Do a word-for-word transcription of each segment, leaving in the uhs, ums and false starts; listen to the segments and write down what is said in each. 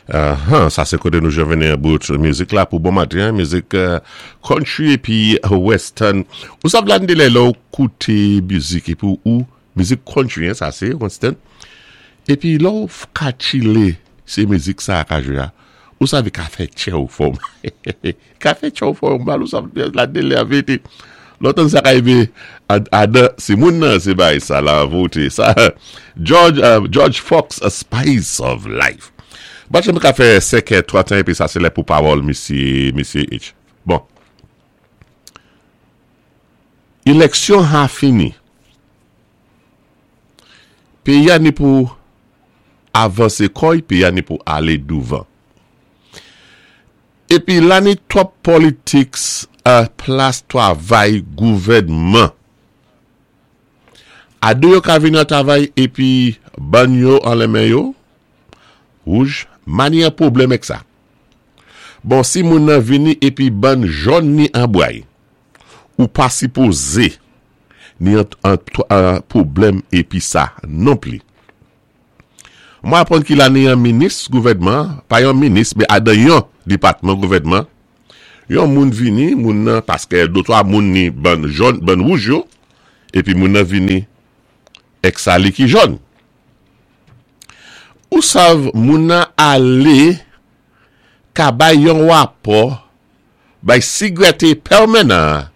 Uh, sa sé koté nou jwenn yon bout mizik la pou bon maten, mizik euh, country épi western. Ou sav la lè lè ou kouté mizik épi ou mizik country, hein, sa sé western. Épi lè ou ka chilé sé mizik sa ka jwé a. Ou sav ka fè tchè ou fòm. Ka fè tchè ou fòm, mal ou sav la délé a vété. Lòtan sa ka rivé adan si moun nan sé bay sa la voté. Sa George uh, George Fox, A Spice of Life. Bat jèm ka fè senk trant épi sa sé lè pou pawòl misyé misyé H. Bon. Éleksyon a fini. Péyi a ni pou avansé kò'y, péyi a ni pou alé douvan. Épi la ni twòp politics a plas twavay gouvèdman. Adé yo ka vini an travay épi bann yo an men yo, wouj, ma ni yon pwoblèm ak sa. Bon, si moun nan vini épi bann jòn ni an bway, ou pa sipozé ni an, an, an pwoblèm épi sa non pli. Mwen aprann ki la ni yon minis gouvèdman, pa yon minis, mé adan yon dépatman gouvèdman, yon moun vini, moun nan, paské dé twa moun ni bann jòn, bann wouj yo, épi moun nan vini ek sa li ki jòn. Ou sav moun nan alé ka bay yon wapò bay sigwete pèmanan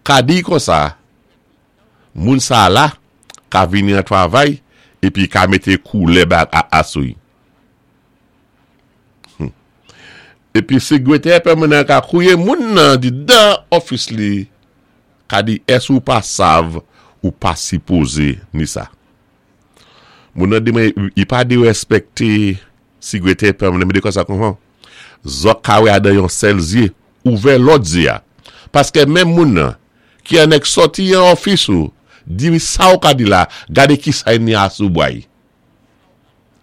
ka di kon sa, moun sa la ka vini an travay épi ka mété koulè ba a, asou. Hmm. Épi sigwete pèmanan ka kouwé moun nan di dan ofis li ka di ès ou pa sav ou pa sipozé ni sa. Moun nan di mwen, i pa di respekté sigwete pèmanan, mwen di kon sa kon zòt ka wè adan yon sèl zyé, ouvè lòt zyé a. Paské menm moun nan, ki anèk sòti yon ofis ou, di sa ou ka di la, gadé ki sa ni asou bway.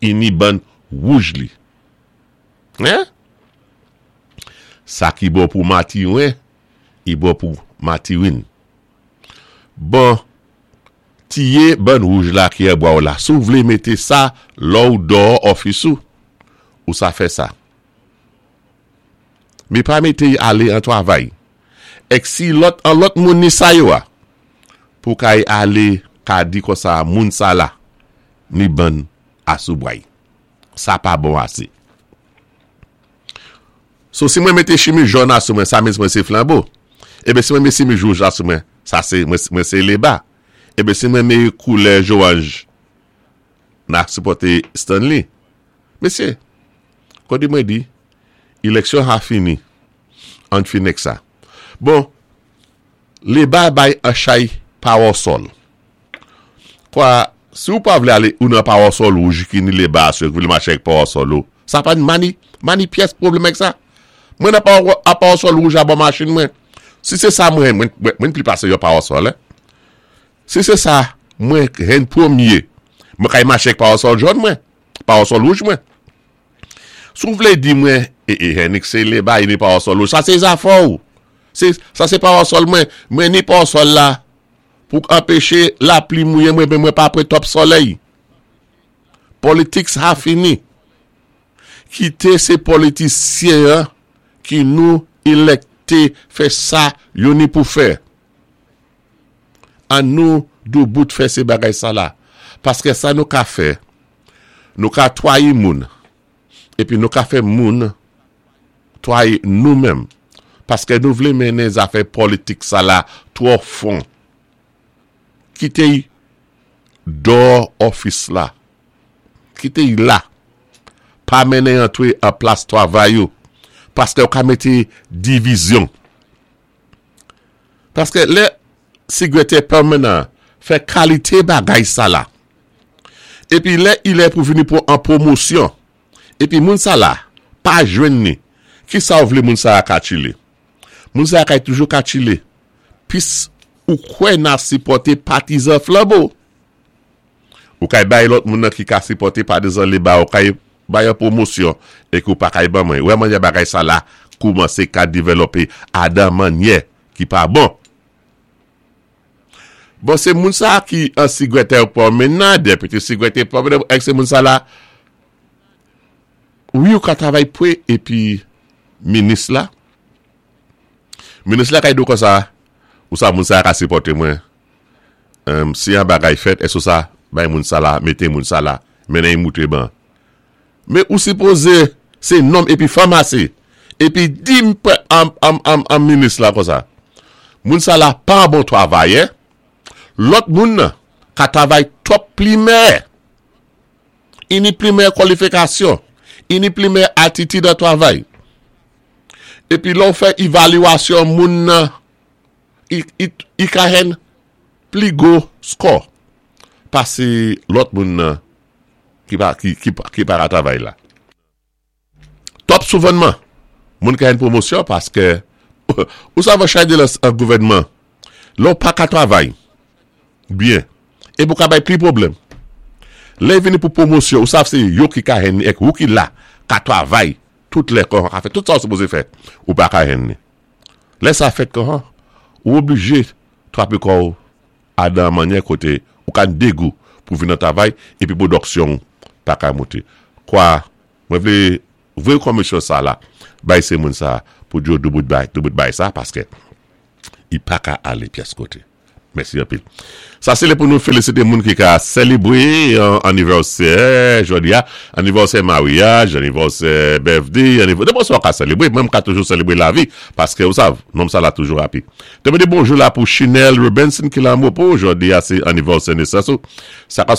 I ni bann wouj li. Hein? Sa ki bon pou Matiwen, i bon pou Matiwin. Bon, tiyé bann wouj la ki e bwa ou la. Si ou vlé mété sa, lò ou dò ofis ou, ou sa fè sa. Mé pa mété alé an travay. Ek si lòt, an lòt moun ni sa yo a, pou kay alé ka di kon sa moun sa la, ni bann asou bway. Sa pa bon asé. So si mwen mété chimiz jòn asou mwen, sa mwen sé Flambeau. Ébé si mwen mété chimiz wouj asou mwen, sa sé mwen, mwen sé Léba. Ébé si mwen mé koulè zowanj, na sipòté Stanley. Mesyé, kon di mwen di, éleksyon a fini, an fini ek sa. Bon, Léba bay an chay pawasòl. Kwa, si ou pa vlé alé ou nan pawasòl wouj ki ni Léba sou vlé maché ak pawasòl ou, sa pa mani, mani pyès pwoblèm ak sa. Mwen nan pa pawasòl wouj a bò machin mwen. Si sé sa mwen, mwen, mwen pli pasé yon pawasòl, eh. Si sé sa, mwen hen pwémyé, mwen kay maché ak pawasòl jòn mwen, pawasòl wouj mwen. Si ou vlé di mwen, e, e, Henrik sé Léba, i ni pawasòl wouj, sa sé zafè ou. Sé, sa sé pawasòl mwen, mwen ni pawasòl la, pou anpéché lapli mouyé mwen, mwen pa pwé twòp solèy. Politics a fini. Kité sé politisyen an, ki nou élekté fè sa yo ni pou fè. An nou doubout fè sé bagay sa la. Paské sa nou ka fè, nou ka twayi moun, épi nou ka fè moun twayi nou menm. Paské nou vlé mennen zafè politik sa la twò fon. Kité dò ofis la. Kité y la. Pa mennen antwé an plas travay yo. Paské ou ka mété divizyon. Paské lè sigwete pèmanan fè kalité bagay sa la. Épi lè ilè pou vini pou an pwomosyon. Épi moun sa la, pa jwenn ni. Ki sa ou vlé moun sa a ka chilé? Moun sa a kay toujou ka chilé. Pis ou kwè na sipòté patizan Flambeau. Ou kay bay lòt moun nan ki ka sipòté patizan Léba, ou kay bay an pwomosyon é ki ou pa kay ban mwen. Wè manyè bagay sa la koumansé ka dévelopé adan manyè ki pa bon. Bon, sé moun sa ki an sigwete pèmanan, deputy sigwete pèmanan, ek sé moun sa la Wi, ou ka travay pwé épi minis la. Minis la ka di ou konsa, ou sa moun sa ka sipòté mwen. Um, si yon bagay fèt, èské sa, bay moun sa la, mété moun sa la, mennen mouté ban. Mé ou sipozé, sé nonm épi fanm asé. Épi di m an, an, an, an minis la konsa. Moun sa la pa bon travayè. Lòt moun ka travay twòp pli mèyè. I ni pli mèyè kwalifikasyon. I ni pli mèyè atitid an travay. Épi lè ou fè évaluasyon moun nan, i, i, i ka jwenn pli gwo score pasé lòt moun nan ki pa, ki, ki, ki pa ka travay la. Twòp souvènman, moun ka jwenn pwomosyon paské ou sav chay de la gouvèdman, lè ou pa ka travay byen, é pou ka bay pli pwoblèm. Lè vini pou pwomosyon, ou sav sé yo ki ka jwenn ni ek ou ki la ka travay tout lè kon ka fè, tout sa ou sipozé fè, ou pa ka jwenn ni. Lè sa fèt kon, ou oblijé twapé kò ou adan mannyè koté ou ka dégou pou vin nan travay épi pwodiksyon pa ka monté. Kwa, mwen vlé voyé komisyon sa la, bay sé moun sa pou di yo doubout bay, doubout bay sa paské i pa ka alé pyès koté. Mèsi anpil. Sa sé lè pou nou félisité moun ki ka sélébwé an anivèsè, jòdi a, anivèsè maryaj, anivèsè birthday, anivèsè, débò sa ka sélébwé, mwen ka toujou sélébwé lavi, paské ou sav, nonm sa la toujou happy. Té mwen di bonjou la pou Chanel Robinson ki la mwopo, jòdi a sé anivèsè nesans ou. Sa ka